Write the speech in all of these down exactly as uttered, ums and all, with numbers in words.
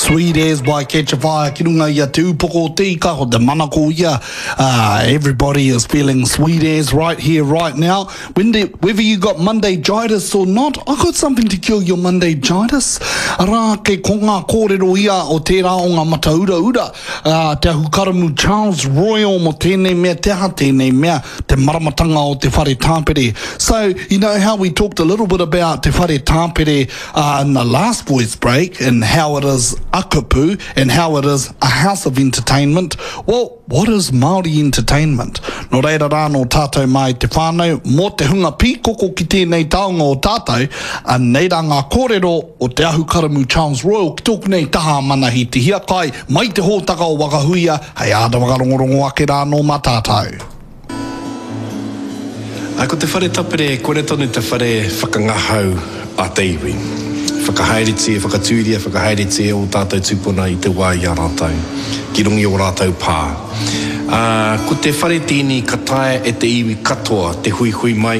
Sweet as by Katchafire ki runga i a Te Upoko o Te Ika, ko te manako ia. Uh, everybody is feeling sweet as right here, right now. When the, whether you got Monday-jitis or not, I got something to cure your Monday-jitis. Arā, ke ko ngā kōrero ia o tērā o ngā matauraura, uh, te ahukaramū Charles Royal mo tēnei mea, te aha tēnei mea, te maramatanga o te whare tāpere. So, you know how we talked a little bit about te whare tāpere uh, in the last voice break and how it is a kupu and how it is a house of entertainment. Well, what is Māori entertainment? Nō reira rā nō tātou mai te whānau, mō te hunga pīkoko ki tēnei taonga o tātou, anei rā ngā kōrero o te ahukaramū Charles Royal ki tōku nei taha Manahi Te Hiakai, mai te hōtaka o Wakahuia, hei āta whakarongorongo ake rā nō mā tātou. Ai, ko te whare tapere, kore tonu te whare whakangahau a te iwi. Whakahaeretia, whakatūria, whakahaeretia o tātou tūpuna i te wā i a rātou, ki runga i o rātou pā. Uh, ko te whare tēnei ka taea e te iwi katoa, te huihui mai,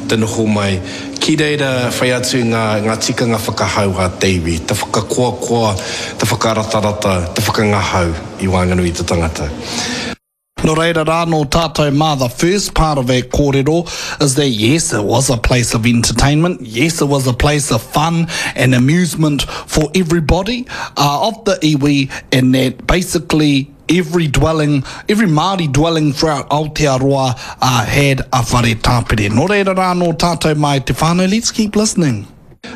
te noho mai, ki reira whai atu ngā, ngā tikanga whakahau a te iwi, te whakakoakoa, te whakaratarata, te whakangahau i waenganui i te tangata. Nō reira rā nō tātou mā, the first part of that kōrero is that yes, it was a place of entertainment. Yes, it was a place of fun and amusement for everybody uh, of the iwi, and that basically every dwelling, every Māori dwelling throughout Aotearoa uh, had a whare tāpere. Nō reira rā nō tātou mai te whānau, let's keep listening.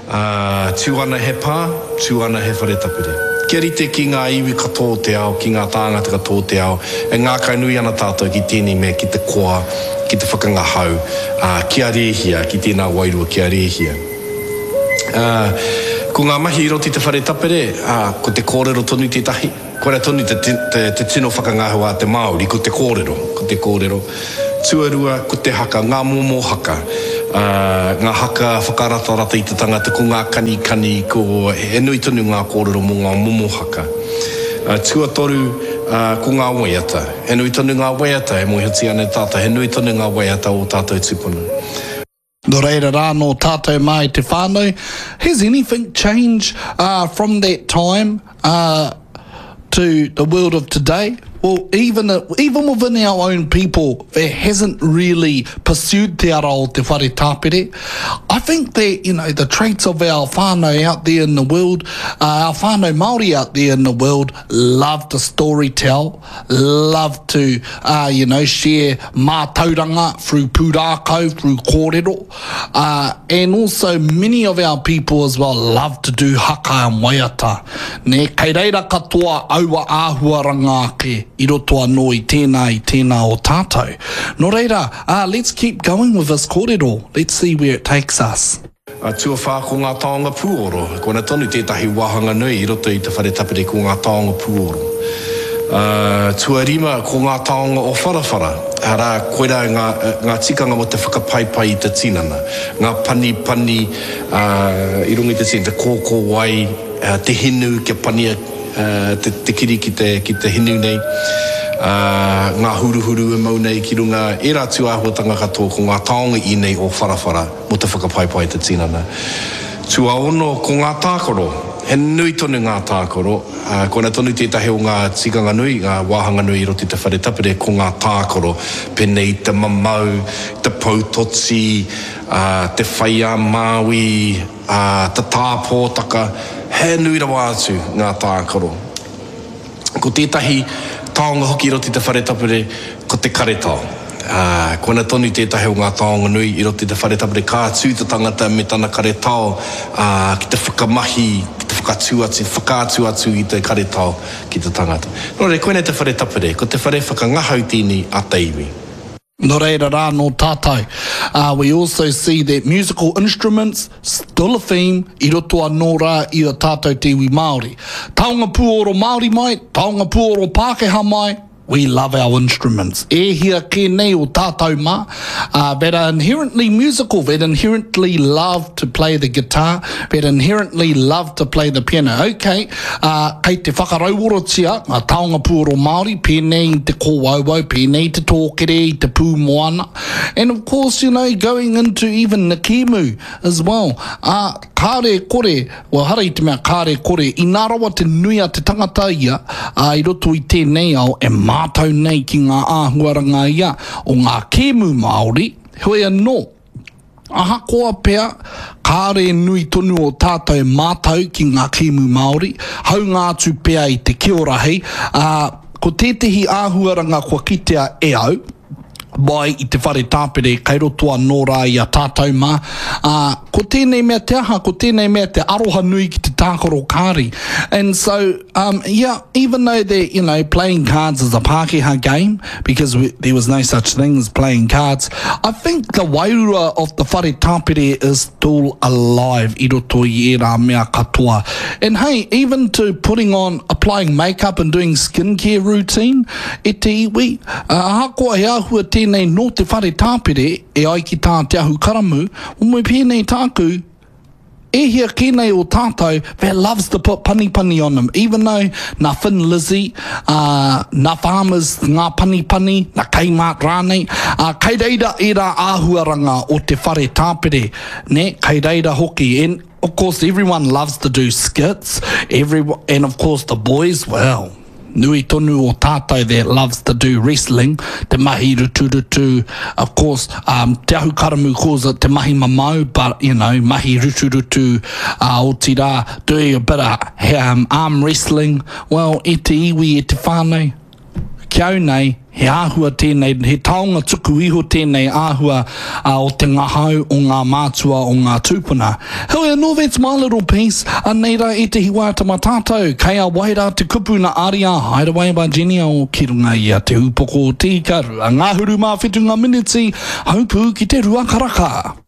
Uh, tū ana he pā, tū ana he whare tapere. Kia rite ki ngā iwi katoa o te ao, ki ngā tāngata katoa o te ao, e ngākau nui ana tātou ki tēnei mea, ki te koa, ki te whakangahau, uh, ki a rēhia, ki tēnā wairua ki a rēhia. Uh, ko ngā mahi i roto i te whare tapere, uh, ko te kōrero tonu tētahi. Korea tonu te, te, te, te tino whakangahau a te Māori, ko te kōrero, ko te kōrero. Tuarua, ko te haka, ngā momo haka. Uh, ngā haka whakaratarata i te tangata, ko ngā kanikani, ko he nui tonu ngā kōrero mō ngā momo haka. Uh, tuatoru, uh, ko ngā waiata. He nui tonu ngā waiata, e mōhiotia ana e tātou, he nui tonu ngā waiata o tātou tūpuna. Nō reira rā nō tātou mai te whānau. Has anything changed uh, from that time uh, to the world of today? Well, even, even within our own people that hasn't really pursued te ara o te whare tāpere, I think that, you know, the traits of our whānau out there in the world, uh, our whānau Māori out there in the world, love to storytell, love to, uh, you know, share mātauranga through pūrākau, through kōrero. Uh, and also many of our people as well love to do haka and waiata. Ne, kei reira katoa aua āhuaranga ake i roto anō i tēnā i tēnā o tātou. Nō reira, uh, let's keep going with this kōrero. Let's see where it takes us. Uh, tuawhā ko ngā taonga pūoro. Koina tonu tētahi wāhanga nui i roto i te whare tapere ko ngā taonga pūoro. Uh, tuarima ko ngā taonga o wharawhara. Arā, koirā ngā, ngā tikanga mo te whakapaipai i te tinana. Ngā pani pani uh, i runga i te tinana, te kōkō wai, uh, te hinu kia pania uh, te, te kiri ki te, ki te hinu nei. Uh, ngā huruhuru e mau nei ki runga, ērā tū āhuatanga katoa ko ngā taonga i nei o wharawhara mo te whakapaipai i te tinana. Tuaono ko ngā tākaro. He nui tonu ngā tākaro. Uh, koina tonu tētahi o ngā tikanga nui, ngā wāhanga nui i roto i te whare tapere ko ngā tākaro. Pēnei te mamau, te poutoti, uh, te whai a Māui, uh, te tāpōtaka. He nui rawa atu ngā tākaro. Ko tētahi taonga hoki i roto i te whare tapere, ko te karetao. Uh, koina tonu tētahi o ngā taonga nui i roto i te whare tapere, ka tū te tangata me tana karetao uh, ki te whakamahi, ki te whakatū atu, whakaatu atu i te karetao ki te tangata. Nō reira, koinei te whare tapere, ko te whare whakangahau tēnei a te iwi. Nō reira rā nō tātou. Uh, we also see that musical instruments still a theme i roto anō rā i a tātou te iwi Māori. Taonga pūoro Māori mai, taonga pūoro Pākehā mai, We love our instruments. E hia kē nei o tātou mā, uh, that are inherently musical, that inherently love to play the guitar, that inherently love to play the piano. Okay, uh, kei te whakarauorotia ngā taonga puoro Māori, pēnei i te kōauau, pēnei i te tōkere, i te pūmoana. And of course, you know, going into even the kēmu as well. Uh, kāre kore, well, hara i te mea kāre kore, inā rawa te nui a te tangata ia, uh, i roto i tēnei ao e mātau nei ki ngā āhuaranga ia o ngā kēmu Māori, heoi anō, ahakoa pea, kāre nui tonu o tātou mātau ki ngā kēmu Māori, haunga atu pea i te kiorahi, uh, ko tētehi āhuaranga kua kitea e au, mai i te whare tāpere, kei roto anō rā i a tātou mā. Uh, ko tēnei mea te aha, ko tēnei mea te aroha nui ki te tākaro kāri. And so, um, yeah, even though that, you know, playing cards is a Pākehā game, because we, there was no such thing as playing cards, I think the wairua of the whare tāpere is still alive i roto i ērā mea katoa. And hey, even to putting on, applying makeup and doing skincare routine, e te iwi, uh, ahakoa he āhua tēnei nō te whare tāpere, e ai ki tā Te Ahukaramū, o me pēnei tāku, e hia kē nei o tātou that loves to put panipani on them, even though nā Thin Lizzy, uh, nā Farmers ngā panipani, nā Kmart rānei, uh, kei reira ērā āhuaranga o te whare tāpere, ne? Kei reira hoki. And of course everyone loves to do skits, every, and of course the boys, well, nui tonu o tātou that loves to do wrestling, te mahi ruturutu, of course, um, Te Ahukaramū calls it te mahi mamau, but, you know, mahi ruturutu, uh, otirā, doing a bit of um, arm wrestling, well, e te iwi, e te whānau, ki au nei, he āhua tēnei, he taonga tuku iho tēnei āhua uh, o te ngahau o ngā mātua o ngā tūpuna. Heoi anō, that's my little piece. Anei rā ētehi waiata mā tātou. Kei a wai rā te kupu nā Aria Hideaway by Jenny O ki runga i a Te Upoko o Te Ika, rua ngahuru mā whitu ngā miniti, haupū ki te rua karaka.